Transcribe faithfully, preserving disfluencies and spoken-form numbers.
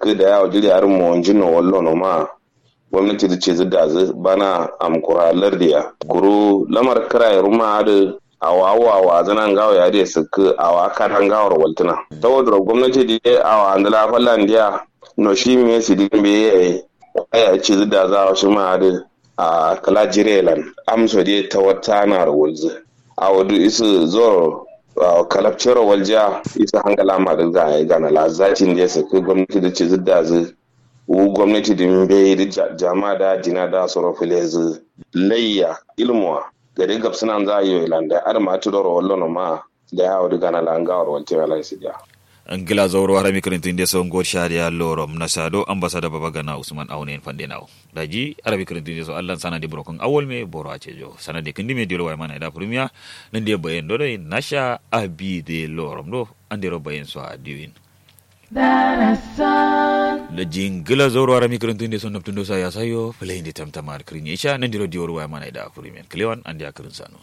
Kǝ da yawo jiri adǝ monjin no wallo no ma gomnati dǝ cizǝ dazǝ bana amkura lardiya. Kuru lamar kǝraye ruma adǝ awo awo awazǝna ngawo ya dǝ ye sǝkkǝ awo akada ngaworo waltǝna. Tawodoro gomnati dǝ ye awo andǝla fallandiya no shi me sidin be yayi kwaya cizǝ dazǝ awo shima adǝ a kala jirelan amso dǝ ye tawatta naro walzǝ. Awo dǝ isǝ zoro awo kalabcero waljiya isǝ hangala ma dǝ gana la zatin dǝ ye sǝkkǝ gomnati dǝ cizǝ dazǝ. Wu gomnati dǝ mbeyi dǝ jama da dina da soro fǝlezǝ laiya ilmuwa gade gabsǝnanza yoyi landa adǝ ma tǝdoro wallono ma. Da yawo dǝ gana la ngaworo waltǝ ala isǝ diya. Ngla zauro harami kǝrǝntǝ nde so ngo shariya lorom nasa do ambasada baba gana usman aune yen fande nawo. Daji harami kǝrǝntǝ nde so allan sanade burokun awol me boro acejo sanade kǝndi me diyol waye mana ida furumiya. Nande bayen do doi nasha abi de lorom do andero bayen so adiwin. Daji ngla zauro harami kǝrǝntǝ nde so naptun do sa yasayo fulayin de tamtama kǝrin isha nandiro diyol waye mana ida furumiya kǝlewan ande a kǝrin sano.